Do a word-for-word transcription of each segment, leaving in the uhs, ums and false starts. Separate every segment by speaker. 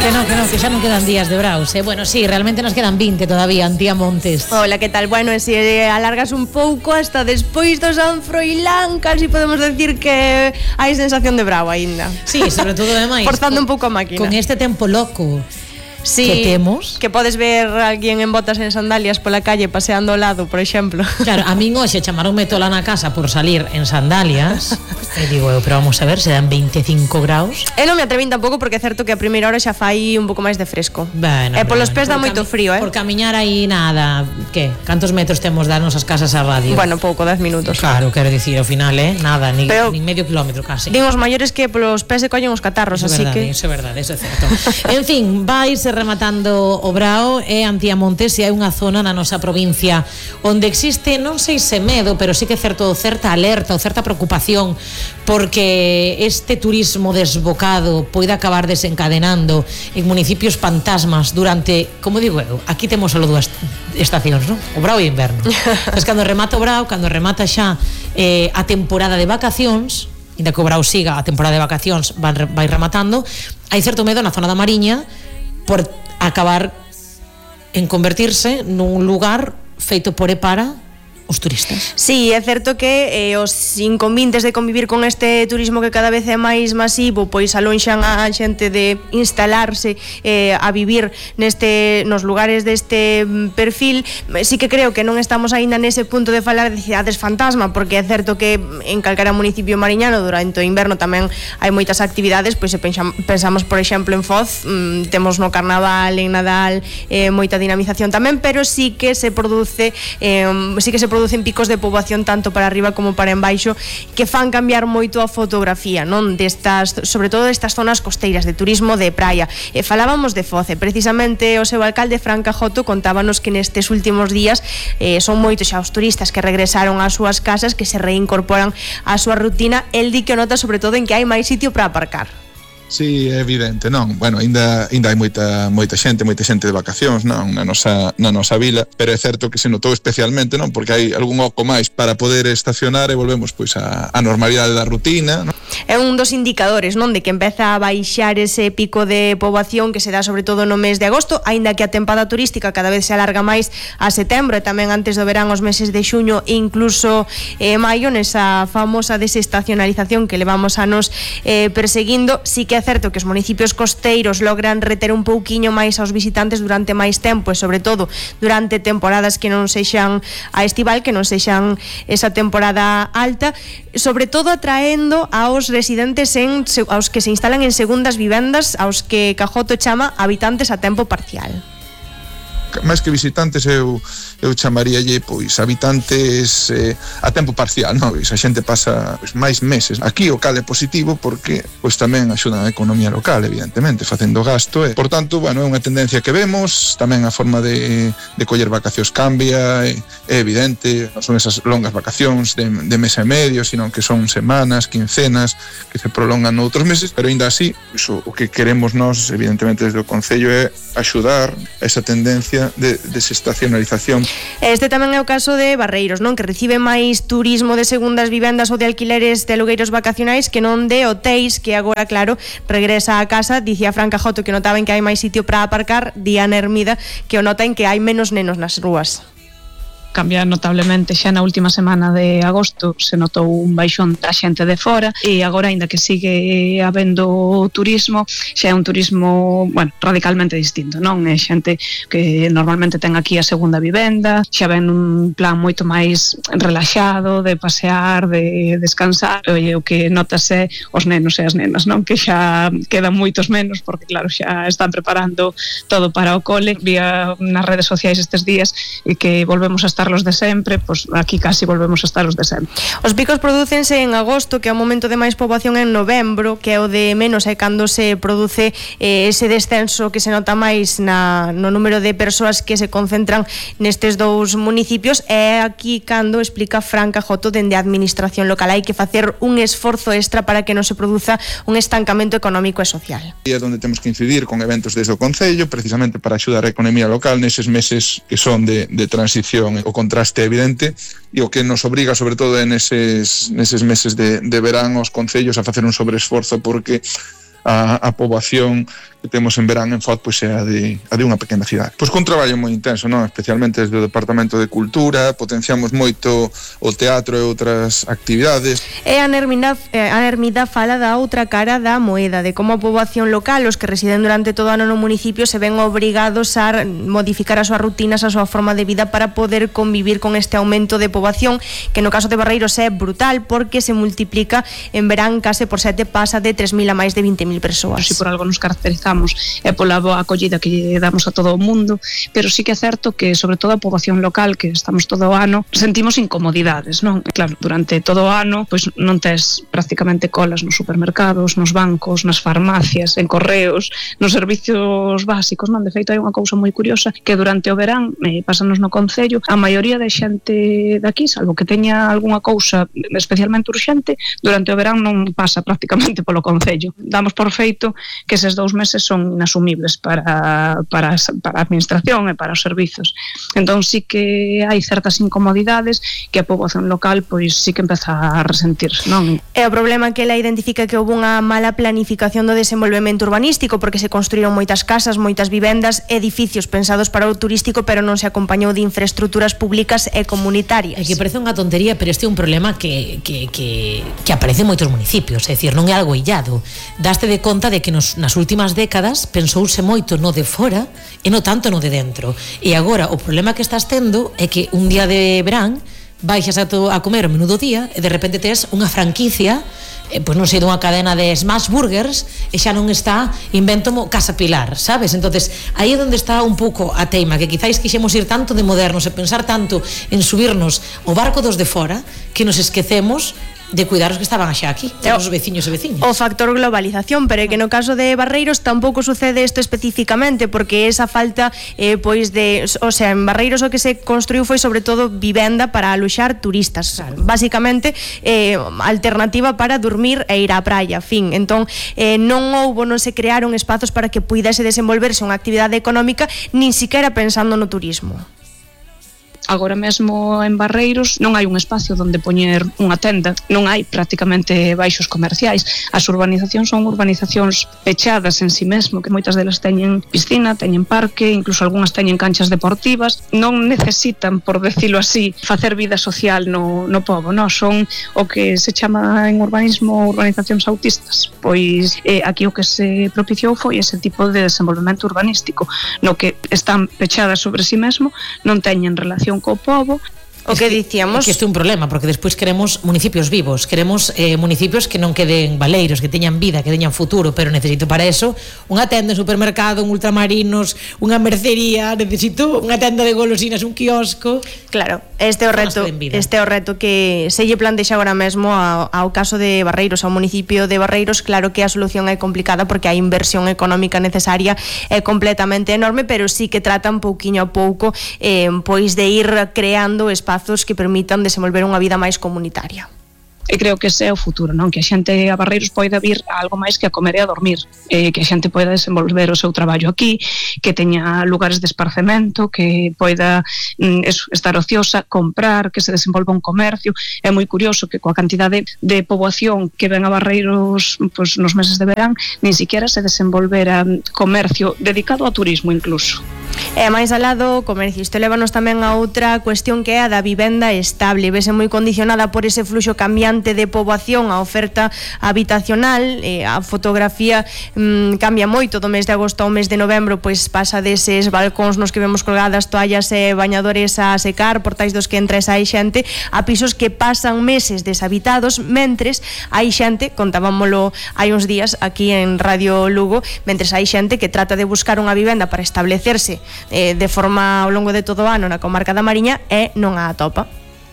Speaker 1: Que no, que no, que xa non quedan días de Braus, eh? Bueno, sí, realmente nos quedan vinte todavía, Antía Montes.
Speaker 2: Hola, que tal? Bueno, e se alargas un pouco hasta despois do San Froilán, casi podemos decir que hai sensación de Brao aínda.
Speaker 1: Sí, sobre todo ademais
Speaker 2: forzando un pouco a máquina.
Speaker 1: Con este tempo loco
Speaker 2: sí,
Speaker 1: que temos,
Speaker 2: que podes ver a alguén en botas en sandalias pola calle paseando ao lado, por exemplo.
Speaker 1: Claro, a min hoxe chamaronme tola na casa por salir en sandalias. E digo eu, pero vamos a ver, se dan veinticinco graus.
Speaker 2: Eu non me atrevín tampouco porque é certo que a primeira hora xa fai un pouco máis de fresco.
Speaker 1: Bueno,
Speaker 2: e polos
Speaker 1: bueno,
Speaker 2: pés dá moito frío, eh?
Speaker 1: Por camiñar aí nada, que? Cantos metros temos das nosas casas a radio?
Speaker 2: Bueno, pouco, dez minutos.
Speaker 1: Claro, quero dicir, ao final, eh, nada, ni,
Speaker 2: pero,
Speaker 1: ni medio kilómetro casi.
Speaker 2: Din os maiores que polos pés se collen os catarros,
Speaker 1: eso
Speaker 2: así
Speaker 1: verdade,
Speaker 2: que...
Speaker 1: Eso é verdade, eso é certo. En fin, vais rematando o Brao e Antía Montes, e hai unha zona na nosa provincia onde existe, non sei se medo, pero sí que é certo, certa alerta ou certa preocupación porque este turismo desbocado poida acabar desencadenando en municipios fantasmas durante, como digo eu, aquí temos só dúas estacións, non? O Brao e o inverno. Entón, cando remata o Brao, cando remata xa eh, a temporada de vacacións, inda que o Brao siga, a temporada de vacacións vai, vai rematando, hai certo medo na zona da Mariña por acabar en convertirse nun lugar feito por e para os turistas.
Speaker 2: Sí, é certo que eh, os inconvenientes de convivir con este turismo que cada vez é máis masivo, pois alonxan a xente de instalarse eh, a vivir neste nos lugares deste perfil. Sí que creo que non estamos aínda nese punto de falar de cidades fantasma, porque é certo que en calquera municipio mariñano durante o inverno tamén hai moitas actividades, pois se pensamos por exemplo en Foz, mmm, temos no Carnaval, en Nadal, eh, moita dinamización tamén, pero sí que se produce eh, sí que se produce producen picos de poboación tanto para arriba como para embaixo que fan cambiar moito a fotografía, non? Destas, sobre todo destas zonas costeiras de turismo de praia. E falábamos de Foz, e precisamente o seu alcalde Fran Cajoto contábanos que nestes últimos días eh, son moitos xa os turistas que regresaron ás súas casas, que se reincorporan á súa rutina. El di que nota sobre todo en que hai máis sitio para aparcar.
Speaker 3: Sí, é evidente, non? Bueno, ainda ainda hai moita moita xente, moita xente de vacacións, non, na nosa na nosa vila, pero é certo que se notou especialmente, non, porque hai algún oco máis para poder estacionar e volvemos pois a a normalidade da rutina, non?
Speaker 2: É un dos indicadores, non, de que empeza a baixar ese pico de poboación que se dá sobre todo no mes de agosto, aínda que a tempada turística cada vez se alarga máis a setembro e tamén antes do verán os meses de xuño e incluso eh, maio, nesa famosa desestacionalización que levamos anos eh, perseguindo. Sí que é certo que os municipios costeiros logran reter un pouquiño máis aos visitantes durante máis tempo e sobre todo durante temporadas que non sexan a estival, que non sexan esa temporada alta, sobre todo atraendo aos residentes en, aos que se instalan en segundas vivendas, aos que Cajoto chama habitantes a tempo parcial.
Speaker 3: Máis que visitantes eu, eu chamaríalle pois habitantes eh, a tempo parcial, non? A xente pasa pois, máis meses aquí, o cal é positivo porque pois tamén axuda a economía local, evidentemente, facendo gasto e, por tanto, bueno, é unha tendencia que vemos, tamén a forma de, de coller vacacións cambia, é, é evidente, non son esas longas vacacións de, de mes e medio, sino que son semanas, quincenas, que se prolongan noutros meses, pero ainda así, pois, o, o que queremos nós, evidentemente, desde o Concello é axudar a esa tendencia de desestacionalización.
Speaker 2: Este tamén é o caso de Barreiros, non? Que recibe máis turismo de segundas vivendas ou de alquileres de alugueiros vacacionais que non de hotéis, que agora, claro, regresa a casa. Dicía Fran Cajoto que notaban que hai máis sitio para aparcar. Diana Hermida que o nota en que hai menos nenos nas rúas.
Speaker 4: Cambia notablemente xa na última semana de agosto, se notou un baixón da xente de fora e agora, aínda que sigue habendo turismo, xa é un turismo, bueno, radicalmente distinto, non? É xente que normalmente ten aquí a segunda vivenda, xa ven un plan moito máis relaxado de pasear, de descansar. E o que notas é os nenos e as nenas, non? Que xa quedan moitos menos porque, claro, xa están preparando todo para o cole. Vía nas redes sociais estes días e que volvemos a estar los de sempre, pois pues aquí casi volvemos a estar os de sempre.
Speaker 2: Os picos prodúcense en agosto, que é o momento de máis poboación, en novembro, que é o de menos, é cando se produce eh, ese descenso que se nota máis na, no número de persoas que se concentran nestes dous municipios. É aquí cando explica Fran Cajoto dende a administración local hai que facer un esforzo extra para que non se produza un estancamento económico e social.
Speaker 3: E é onde temos que incidir con eventos desde o Concello, precisamente para axudar a economía local neses meses que son de, de transición. O contraste evidente e o que nos obriga sobre todo en eses, neses meses de, de verán os concellos a facer un sobreesforzo porque a, a poboación que temos en verán en Foz pois é a de, a de unha pequena cidade. Pois con traballo moi intenso, non? Especialmente desde o Departamento de Cultura, potenciamos moito o teatro e outras actividades.
Speaker 2: E a Nermida, a Nermida fala da outra cara da moeda, de como a poboación local, os que residen durante todo o ano no municipio, se ven obrigados a modificar as súas rutinas, a súa forma de vida para poder convivir con este aumento de poboación, que no caso de Barreiros é brutal porque se multiplica en verán case por sete, pasa de tres mil a máis de vinte mil persoas.
Speaker 4: Si por algo nos caracterizamos é pola boa acollida que lle damos a todo o mundo, pero sí que é certo que sobre todo a poboación local, que estamos todo o ano, sentimos incomodidades, non? Claro, durante todo o ano pois non tes prácticamente colas nos supermercados, nos bancos, nas farmacias, en correos, nos servicios básicos, non? De feito hai unha cousa moi curiosa que durante o verán, eh, pásanos no concello, a maioría de xente daqui, salvo que teña algunha cousa especialmente urxente, durante o verán non pasa prácticamente polo concello. Damos por feito que eses dous meses son inasumibles para, para, para a administración e para os servizos. Entón sí que hai certas incomodidades que a poboación local pois sí que empeza a resentir, non?
Speaker 2: E o problema que ela identifica que houve unha mala planificación do desenvolvemento urbanístico, porque se construíron moitas casas, moitas vivendas, edificios pensados para o turístico, pero non se acompañou de infraestructuras públicas e comunitarias.
Speaker 1: É que parece unha tontería, pero este é un problema que, que, que, que aparece en moitos municipios, é dicir, non é algo illado. Daste de conta de que nos, nas últimas décadas pensouse moito no de fora e non tanto no de dentro. E agora o problema que estás tendo é que un día de verán baixas a, to, a comer o menú do día e de repente tes unha franquicia, eh, pois non sei, dunha cadena de smash burgers e xa non está invento Casa Pilar, sabes? Entonces aí é onde está un pouco a teima, que quizáis quixemos ir tanto de modernos e pensar tanto en subirnos o barco dos de fora que nos esquecemos de cuidar os que estaban xa aquí, os veciños e veciñas.
Speaker 2: O factor globalización, pero é que no caso de Barreiros tampouco sucede isto especificamente, porque esa falta eh, pois de, o sea, en Barreiros o que se construiu foi sobre todo vivenda para aloxar turistas, claro. Basicamente eh, alternativa para dormir e ir á praia, fin. Entón, eh, non houbo, non se crearon espazos para que puidese desenvolverse unha actividade económica, nin siquiera pensando no turismo.
Speaker 4: Agora mesmo en Barreiros non hai un espacio onde poñer unha tenda, non hai prácticamente baixos comerciais. As urbanizacións son urbanizacións pechadas en si mesmo, que moitas delas teñen piscina, teñen parque, incluso algunhas teñen canchas deportivas. Non necesitan, por decirlo así, facer vida social no, no pobo, non? Son o que se chama en urbanismo urbanizacións autistas. Pois eh, aquí o que se propiciou foi ese tipo de desenvolvemento urbanístico, no que están pechadas sobre si mesmo, non teñen relación co pobo.
Speaker 2: O que dicíamos,
Speaker 1: que isto é un problema, porque despois queremos municipios vivos, queremos eh, municipios que non queden baleiros, que teñan vida, que teñan futuro, pero necesito para eso unha tenda, un supermercado, un ultramarinos, unha mercería, necesito unha tenda de golosinas, un quiosco.
Speaker 2: Claro, este é o reto, este é o reto que se lle plantexa agora mesmo ao, ao caso de Barreiros, ao municipio de Barreiros. Claro que a solución é complicada porque a inversión económica necesaria é completamente enorme, pero sí que tratan pouquiño a pouco eh, pois de ir creando espazos que permitan desenvolver unha vida máis comunitaria.
Speaker 4: E creo que ese é o futuro, non? Que a xente a Barreiros poida vir a algo máis que a comer e a dormir, eh, que a xente poida desenvolver o seu traballo aquí, que teña lugares de esparcemento, que poida mm, eso, estar ociosa, comprar, que se desenvolva un comercio. É moi curioso que coa cantidade de poboación que ven a Barreiros pues, nos meses de verán, nin siquiera se desenvolvera comercio dedicado ao turismo incluso.
Speaker 2: E máis alá do comercio, isto levanos tamén a outra cuestión que é a da vivenda estable. Vese moi condicionada por ese fluxo cambiante de poboación, a oferta habitacional, e a fotografía mmm, cambia moito do mes de agosto ao mes de novembro, pois pasa deses balcóns nos que vemos colgadas toallas e bañadores a secar, portais dos que entra e sai xente, a pisos que pasan meses deshabitados, mentres hai xente, contábamolo hai uns días aquí en Radio Lugo, mentres hai xente que trata de buscar unha vivenda para establecerse eh, de forma ao longo de todo o ano na comarca da Mariña e non a atopa.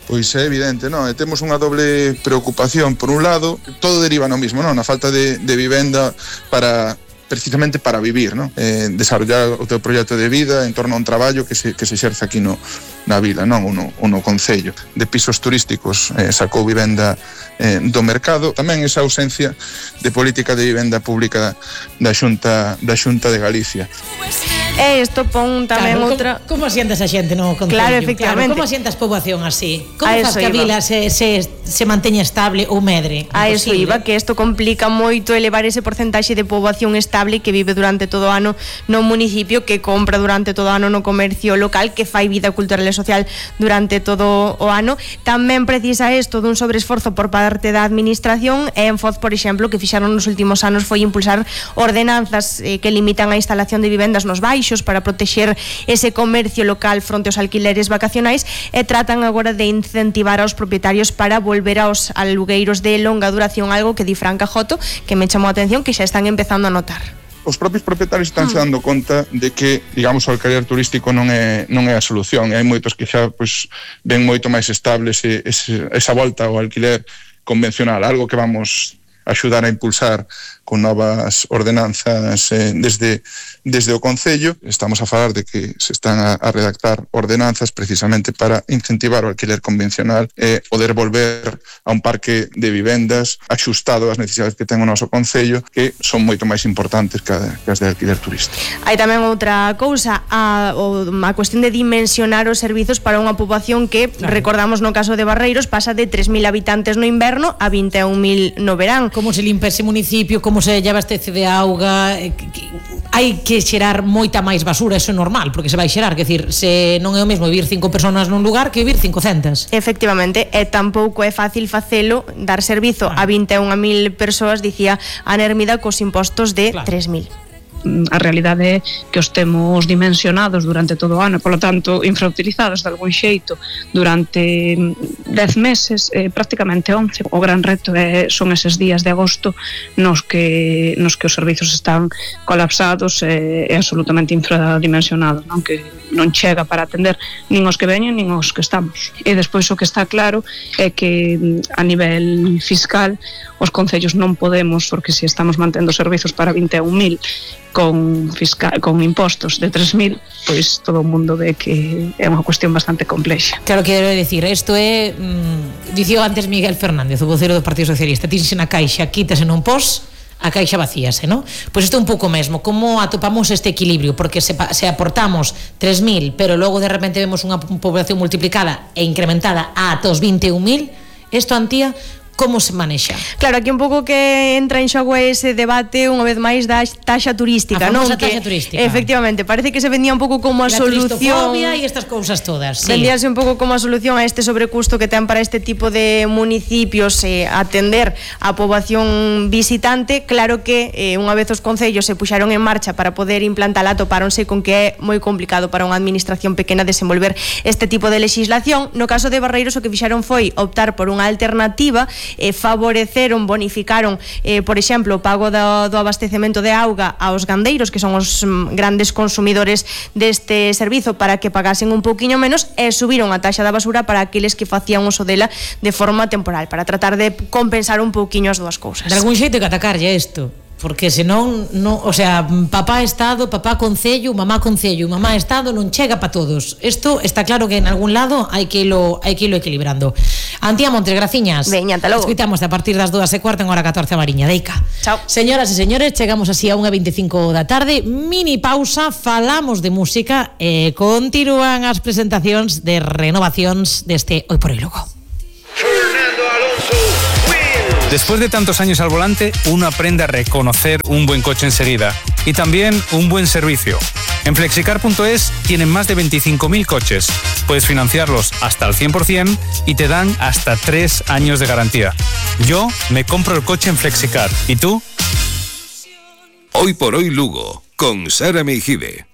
Speaker 3: Pois é evidente, non? E temos unha doble preocupación. Por un lado, todo deriva no mismo, non? Na falta de, de vivenda para precisamente para vivir, non? Eh, desarrollar o teu proxecto de vida en torno a un traballo que se, que se exerce aquí no, na vila, non? O no, o no concello. De pisos turísticos eh, sacou vivenda eh, do mercado. Tamén esa ausencia de política de vivenda pública da Xunta, da Xunta de Galicia.
Speaker 2: E isto pon tamén
Speaker 1: claro,
Speaker 2: outra...
Speaker 1: Como, como asientas a xente no concello?
Speaker 2: Claro, efectivamente.
Speaker 1: Claro, como asientas poboación así? Como
Speaker 2: A
Speaker 1: faz
Speaker 2: eso
Speaker 1: que a
Speaker 2: iba.
Speaker 1: vila se, se, se manteña estable ou medre?
Speaker 2: A eso
Speaker 1: Imposible.
Speaker 2: iba, que isto complica moito elevar ese porcentaxe de poboación estable que vive durante todo o ano no municipio, que compra durante todo o ano no comercio local, que fai vida cultural e social durante todo o ano. Tamén precisa isto dun sobreesforzo por parte da administración, e en Foz, por exemplo, que fixaron nos últimos anos foi impulsar ordenanzas eh, que limitan a instalación de vivendas nos baixos para protexer ese comercio local fronte aos alquileres vacacionais, e tratan agora de incentivar aos propietarios para volver aos alugueiros de longa duración, algo que di Fran Cajoto, que me chamou a atención, que xa están empezando a notar.
Speaker 3: Os propios propietarios están se dando conta de que, digamos, o alquiler turístico non é non é a solución, e hai moitos que xa pois ven moito máis estable ese, ese, esa volta ao alquiler convencional, algo que vamos axudar a impulsar con novas ordenanzas eh, desde, desde o Concello. Estamos a falar de que se están a, a redactar ordenanzas precisamente para incentivar o alquiler convencional e eh, poder volver a un parque de vivendas axustado ás necesidades que ten o noso Concello, que son moito máis importantes que, a, que as de alquiler turístico.
Speaker 2: Hai tamén outra cousa, a, a cuestión de dimensionar os servizos para unha poboación que, claro, recordamos no caso de Barreiros, pasa de tres mil habitantes no inverno a vinte e un mil no verán.
Speaker 1: Como se limpa ese municipio, como se lle abastece de auga, eh, que, que, hai que xerar moita máis basura, eso é normal, porque se vai xerar, que decir, se non é o mesmo vivir cinco personas nun lugar que vivir cincocentas.
Speaker 2: Efectivamente, e tampouco é fácil facelo, dar servizo a vinte e un mil persoas, dicía Ana Hermida, cos impostos de claro. tres mil.
Speaker 4: A realidade é que os temos dimensionados durante todo o ano, polo tanto infrautilizados de algún xeito durante dez meses, eh, prácticamente once. O gran reto é, son eses días de agosto nos que, nos que os servizos están colapsados e, e absolutamente infradimensionados, non? Que non chega para atender nin os que veñen nin os que estamos. E despois o que está claro é que a nivel fiscal os concellos non podemos, porque se estamos mantendo servizos para vinte e un mil con, fiscal, con impostos de tres mil, pois todo o mundo ve que é unha cuestión bastante complexa.
Speaker 1: Claro, quero decir, isto é mmm, dicía antes Miguel Fernández, o vocero do Partido Socialista, tínse na caixa, quítase non pos, a caixa vacíase, non? Pois isto é un pouco mesmo, como atopamos este equilibrio, porque se, se aportamos tres mil, pero logo de repente vemos unha población multiplicada e incrementada ata os vinte e un mil, isto, Antía, como se manexa?
Speaker 2: Claro, aquí un pouco que entra en xogo ese debate unha vez máis da taxa turística,
Speaker 1: a
Speaker 2: non?
Speaker 1: famosa
Speaker 2: Que,
Speaker 1: taxa turística.
Speaker 2: Efectivamente, parece que se vendía un pouco como a
Speaker 1: la
Speaker 2: solución.
Speaker 1: La e estas cousas todas, sí.
Speaker 2: Vendíase un pouco como a solución a este sobrecusto que ten para este tipo de municipios, eh, atender a poboación visitante. Claro que eh, unha vez os concellos se puxaron en marcha para poder implantala, topáronse con que é moi complicado para unha administración pequena desenvolver este tipo de legislación. No caso de Barreiros, o que fixaron foi optar por unha alternativa. Eh, favoreceron, bonificaron eh, por exemplo, o pago do, do abastecemento de auga aos gandeiros, que son os mm, grandes consumidores deste servizo, para que pagasen un pouquiño menos, e subiron a taxa da basura para aqueles que facían uso dela de forma temporal, para tratar de compensar un pouquiño as dúas cousas.
Speaker 1: De algún xeito que atacarlle isto, porque senón, no, o sea, papá Estado, papá Concello, mamá Concello, mamá Estado non chega para todos. Isto está claro que en algún lado hai que ilo, hai que ilo equilibrando. Antía Montes, graciñas.
Speaker 2: Veña, ata logo.
Speaker 1: Escuitamos a partir das dúas e cuarto en hora catorce a Mariña, Deica.
Speaker 2: Chao.
Speaker 1: Señoras e señores, chegamos así a unha e veinticinco da tarde, mini pausa, falamos de música e continúan as presentacións de renovacións deste Hoy por Hoy Lugo.
Speaker 5: Fernando Alonso.
Speaker 6: Después de tantos años al volante, uno aprende a reconocer un buen coche enseguida y también un buen servicio. En flexicar punto es tienen más de veinticinco mil coches. Puedes financiarlos hasta el cien por ciento y te dan hasta tres años de garantía. Yo me compro el coche en Flexicar. ¿Y tú?
Speaker 5: Hoy por Hoy Lugo, con Sara Meijide.